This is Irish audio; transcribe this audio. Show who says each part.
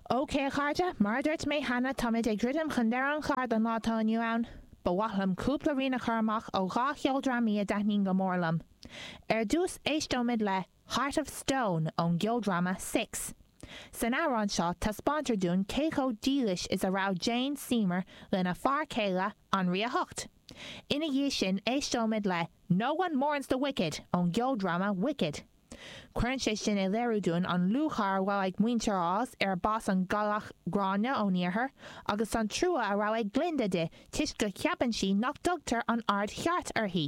Speaker 1: OK a chairde, mar a dúirt mé cheana, táimid ag druidim chun deireadh an chláir don lá atá inniu ann. Ba mhaith liom cúpla rian a chur amach ó dha cheoldrámaí a dtaitníonn go mór liom. Ar dtús éisteoimid le Heart of Stone ón gceoldráma Six. San amhrán seo taispeántar dúinn cé chomh dílis is a raibh Jane Seymour lena fear céile, Anraí a hOcht. Ina dhiaidh sin éisteoimid le No One Mourns the Wicked ón gceoldráma Wicked. Cuireann sé sin i léiriú dúinn an lúcháir a bhfuil ag muintir Oz ar bás an gcailleach gránna ón iarthar agus an trua a raibh ag Glinda di toisc go cheapann sí nach dtugtar an aird cheart uirthi.